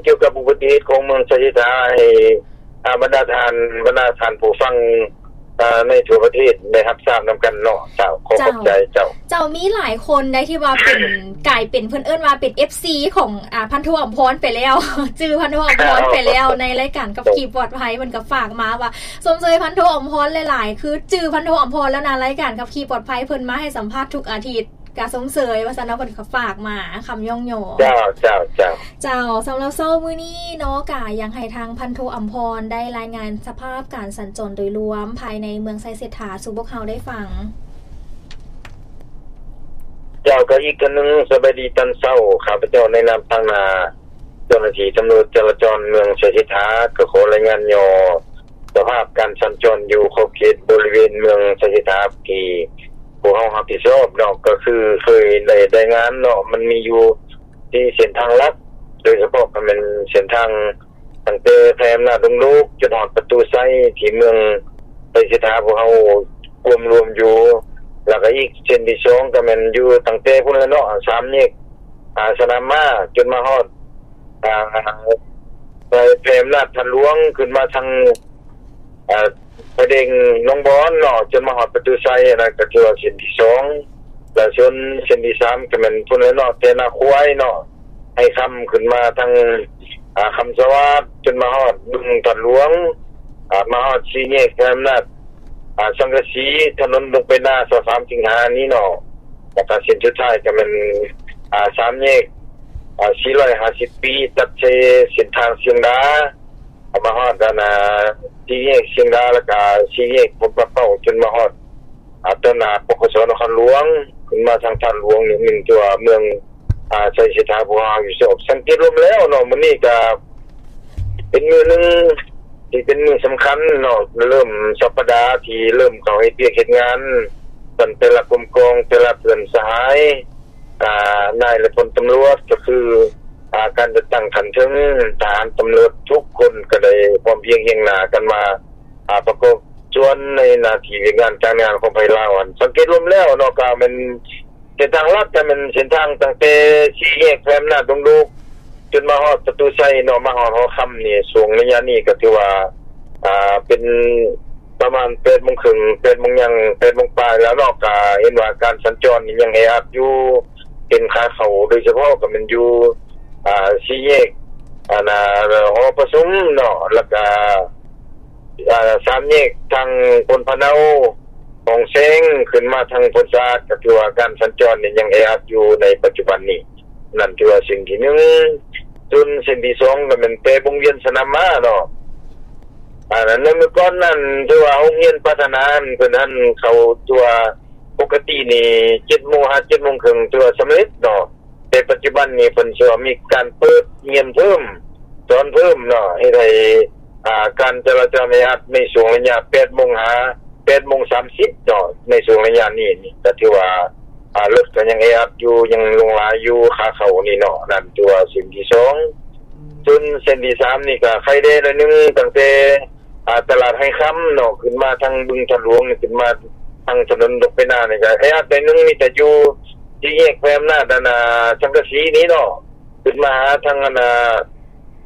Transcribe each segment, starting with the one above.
ກ່ຽວກັບອຸບັດຕິເຫດຂອງເມືອງໄຊເສດຖາ ໃຫ້ ອ່າ ບັນດາທ່ານ ບັນດາທ່ານຜູ້ຟັງ ອ່າ ໃນທົ່ວປະເທດໄດ້ຮັບຊາບນຳກັນເນາະ. ເຈົ້າ ຂໍຂອບໃຈເຈົ້າ. ເຈົ້າ ມີຫຼາຍຄົນໃດທີ່ວ່າເປັນ ກາຍເປັນ ເພິ່ນເອີ້ນວ່າເປັນເອັຟຊີຂອງ ອ່າ ພັນໂທອຳພອນໄປແລ້ວ ຈື່ພັນໂທອຳພອນໄປແລ້ວ ໃນລາຍການຂັບຂີ່ປອດໄພ ເພິ່ນກໍຝາກມາວ່າຊົມເຊີຍພັນໂທອຳພອນຫຼາຍໆ ຄືຈື່ພັນໂທອຳພອນແລ້ວນະ ລາຍການຂັບຂີ່ປອດໄພ ເພິ່ນມາໃຫ້ສຳພາດທຸກອາທິດ ກະຊົມເຊີຍວ່າຊັ້ນເນາະ ເພິ່ນກໍຝາກມາຄຳຍ້ອງຍໍ. ເຈົ້າ ເຈົ້າ ເຈົ້າ ເຈົ້າ. ສຳລັບເຊົ້າມື້ນີ້ເນາະ ກະຢາກໃຫ້ທາງພັນໂທອຳພອນໄດ້ລາຍງານສະພາບການສັນຈອນໂດຍລວມພາຍໃນເມືອງໄຊເສດຖາສູ່ພວກເຮົາໄດ້ຟັງ. ເຈົ້າ ກະອີກເທື່ອໜຶ່ງ ສະບາຍດີຕອນເຊົ້າ. ຂ້າພະເຈົ້າໃນນາມທາງໜ້າເຈົ້າໜ້າທີ່ຕຳຫຼວດຈະລາຈອນເມືອງໄຊເສດຖາ ກະຂໍລາຍງານຫຍໍ້ ສະພາບການສັນຈອນຢູ່ຂອບເຂດບໍລິເວນເມືອງໄຊເສດຖາ ທີ່ພວກເຮົາຮັບຜິດຊອບເນາະ ກໍຄືເຄີຍໄດ້ລາຍງານເນາະ ມັນມີຢູ່ສີ່ເສັ້ນທາງຫຼັກ ໂດຍສະເພາະກໍແມ່ນເສັ້ນທາງຕັ້ງແຕ່ໄພອຳນາດດົງໂດກ ຈົນຮອດປະຕູໄຊ ທີ່ເມືອງໄຊເສດຖາພວກເຮົາກວມລວມຢູ່ ແລ້ວກໍອີກເສັ້ນທີສອງກໍແມ່ນຢູ່ຕັ້ງແຕ່ພຸ້ນແຫຼະເນາະ ສາມແຍກ ອາ ສະໜາມມ້າ ຈົນມາຮອດ ອາ ໄປ ໄພອຳນາດທາດຫຼວງ ຂຶ້ນມາທາງ ອາ ໄຟແດງໜອງບອນເນາະ ຈົນມາຮອດປະຕູໄຊ ອັນນັ້ນກໍຖືວ່າເສັ້ນທີສອງ ແລະ ສ່ວນເສັ້ນທີສາມກໍແມ່ນພຸ້ນແຫຼະເນາະ ແຕ່ນາຄວາຍເນາະ ໄຮຄຳ ຂຶ້ນມາທາງ ອາ ຄຳສະຫວາດ ຈົນມາຮອດບຶງທາດຫຼວງ ອາ ມາຮອດສີ່ແຍກໄພອຳນາດ ອາ ສັງກະສີ ຖະໜົນດົງໄປນາ ຊາວສາມສິງຫານີ້ເນາະ ແລ້ວກໍເສັ້ນສຸດທ້າຍກໍແມ່ນ ອາ ສາມແຍກ ອາ ສີ່ຮ້ອຍຫ້າສິບປີ ຕັດໃສ່ເສັ້ນທາງຊຽງດາ ມາຮອດອັນ ອາ ສີ່ແຍກຊຽງດາ ແລ້ວກໍສີ່ແຍກພົມປະເປົ້າ ຈົນມາຮອດ ອາ ຕໍ່ໜ້າ ປກສ ນະຄອນຫຼວງ ຂຶ້ນມາທາງທາດຫຼວງນີ້ ແມ່ນຕົວເມືອງ ອາ ໄຊເສດຖາ ພວກເຮົາຢູ່ສອບ ສັງເກດລວມແລ້ວເນາະ ມື້ນີ້ກໍເປັນມື້ໜຶ່ງທີ່ເປັນມື້ສຳຄັນເນາະ ເລີ່ມສັບປະດາທີ່ເລີ່ມເຂົ້າເຮັດວຽກເຮັດງານ ກັນແຕ່ລະກົມກອງ ແຕ່ລະເພື່ອນສະຫາຍ ອາ ນາຍ ແລະ ພົນຕຳຫຼວດ ກໍຄື ອາ ການຈັດຕັ້ງຂັ້ນເທິງ ທະຫານ ຕຳຫຼວດ ທຸກຄົນກໍໄດ້ພ້ອມພຽງຮຽງໜ້າກັນມາ ອາ ປະກອບສ່ວນໃນໜ້າທີ່ວຽກງານການງານຂອງໃຜລາວຫັ້ນ ສັງເກດລວມແລ້ວເນາະ ກໍແມ່ນເສັ້ນທາງຫຼັກ ກໍແມ່ນເສັ້ນທາງຕັ້ງແຕ່ສີ່ແຍກໄພອຳນາດດົງໂດກ ຈົນມາຮອດປະຕູໄຊເນາະ ມາຮອດຫໍຄຳນີ້ ຊ່ວງໄລຍະນີ້ກໍຖືວ່າ ອາ ເປັນປະມານແປດໂມງເຄິ່ງ ແປດໂມງຫຍັງ ແປດໂມງປາຍແລ້ວເນາະ ກໍເຫັນວ່າການສັນຈອນນີ້ຍັງແອອັດຢູ່ ເປັນຂາເຂົ້າ ໂດຍສະເພາະກໍແມ່ນຢູ່ ອາ ສີ່ແຍກ ອັນ ອາ ຫໍປະຊຸມເນາະ ແລ້ວກໍ ອາ ສາມແຍກທາງໂພນພະເນົາ ຂອງແຊງ ຂຶ້ນມາທາງໂພນສະອາດ ກໍຖືວ່າການສັນຈອນນີ້ຍັງແອອັດຢູ່ໃນປັດຈຸບັນນີ້ ນັ້ນຖືວ່າເສັ້ນທີໜຶ່ງ. ສ່ວນເສັ້ນທີສອງກໍແມ່ນແຕ່ວົງວຽນສະໜາມມ້າເນາະ ອັນນັ້ນໃນມື້ກ່ອນນັ້ນ ຖືວ່າໂຮງຮຽນພັດທະນາ ເພິ່ນຫັ້ນເຂົ້າຕົວ ປົກກະຕິນີ້ເຈັດໂມງຫາເຈັດໂມງເຄິ່ງ ຖືວ່າສຳເລັດເນາະ ແຕ່ປັດຈຸບັນນີ້ເພິ່ນຊິວ່າມີການເປີດຮຽນເພີ່ມ ສອນເພີ່ມເນາະ ເຮັດໃຫ້ ອາ ການຈະລາຈອນແອອັດໃນຊ່ວງໄລຍະແປດໂມງຫາແປດໂມງສາມສິບເນາະ ໃນຊ່ວງໄລຍະນີ້ນີ້ ກໍຖືວ່າ ອາ ລົດກໍຍັງແອອັດຢູ່ ຍັງຫຼວງຫຼາຍຢູ່ ຂາເຂົ້ານີ້ເນາະ ນັ້ນຖືວ່າເສັ້ນທີສອງ. ສ່ວນເສັ້ນທີສາມນີ້ກໍໄຄແດ່ໜ້ອຍໜຶ່ງ ຕັ້ງແຕ່ ອາ ຕະຫຼາດໄຮຄຳເນາະ ຂຶ້ນມາທາງບຶງທາດຫຼວງນີ້ ຂຶ້ນມາທາງຖະໜົນດົງໄປນານີ້ກໍແອອັດໜ້ອຍໜຶ່ງ ມີແຕ່ຢູ່ສີ່ແຍກໄພອຳນາດ ອັນ ອາ ສັງກະສີນີ້ເນາະ ຂຶ້ນມາຫາທາງ ອັນ ອາ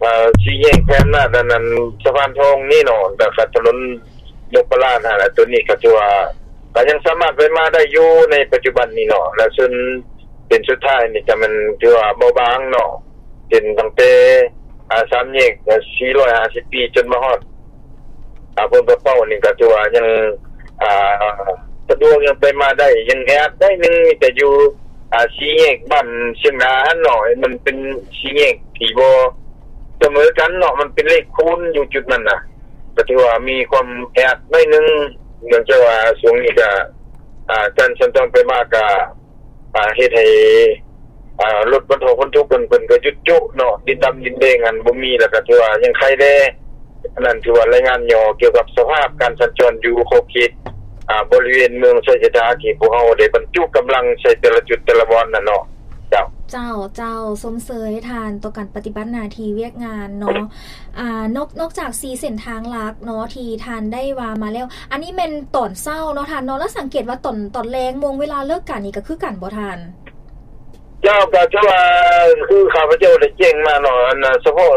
ອາ ສີ່ແຍກໄພອຳນາດ ອັນ ອັນ ສະພານທອງນີ້ເນາະ ແລ້ວກໍຖະໜົນນົບປະລານຫັ້ນແຫຼະ ຕົວນີ້ກໍຖືວ່າ ກໍຍັງສາມາດໄປມາໄດ້ຢູ່ໃນປັດຈຸບັນນີ້ເນາະ ແລະ ສ່ວນເສັ້ນສຸດທ້າຍນີ້ກໍແມ່ນຖືວ່າເບົາບາງເນາະ ເສັ້ນຕັ້ງແຕ່ ອາ ສາມແຍກ ອາ ສີ່ຮ້ອຍຫ້າສິບປີ ຈົນມາຮອດ ອາ ໂພນປະເປົ້ານີ້ກໍຖືວ່າຍັງ ອາ ສະດວກ ຍັງໄປມາໄດ້ ຍັງແອອັດໜ້ອຍໜຶ່ງ ມີແຕ່ຢູ່ ອາ ສີ່ແຍກບ້ານຊຽງດາຫັ້ນເນາະ ມັນເປັນສີ່ແຍກທີ່ບໍ່ສະເໝີກັນເນາະ ມັນເປັນເລກຄູນຢູ່ຈຸດນັ້ນນະ ກໍຖືວ່າມີຄວາມແອອັດໜ້ອຍໜຶ່ງ ເນື່ອງຈາກວ່າຊ່ວງນີ້ກໍ ອາ ການສັນຈອນໄປມາກໍ ອາ ເຮັດໃຫ້ ອາ ລົດບັນທຸກ ບັນທຸກເພິ່ນ ເພິ່ນກໍຢຸດໂຈະເນາະ ດິນດຳດິນແດງຫັ້ນບໍ່ມີ ແລ້ວກໍຖືວ່າຍັງໄຄແດ່. ອັນນັ້ນຖືວ່າລາຍງານຫຍໍ້ກ່ຽວກັບສະພາບການສັນຈອນຢູ່ຂອບເຂດ ອາ ບໍລິເວນເມືອງໄຊເສດຖາ ທີ່ພວກເຮົາໄດ້ບັນຈຸກຳລັງໃສ່ແຕ່ລະຈຸດແຕ່ລະບ່ອນນັ້ນເນາະ. ເຈົ້າ ເຈົ້າ ເຈົ້າ ຊົມເຊີຍທ່ານຕໍ່ການປະຕິບັດໜ້າທີ່ວຽກງານເນາະ. ອາ ນອກ ນອກຈາກສີ່ເສັ້ນທາງຫຼັກເນາະ ທີ່ທ່ານໄດ້ວ່າມາແລ້ວ ອັນນີ້ແມ່ນຕອນເຊົ້າເນາະທ່ານເນາະ ແລ້ວສັງເກດວ່າຕອນ ຕອນແລງໂມງເວລາເລີກການນີ້ກໍຄືກັນບໍ່ທ່ານ? ເຈົ້າ ກໍຖືວ່າຄືຂ້າພະເຈົ້າໄດ້ແຈ້ງມາເນາະ ອັນ ສະເພາະ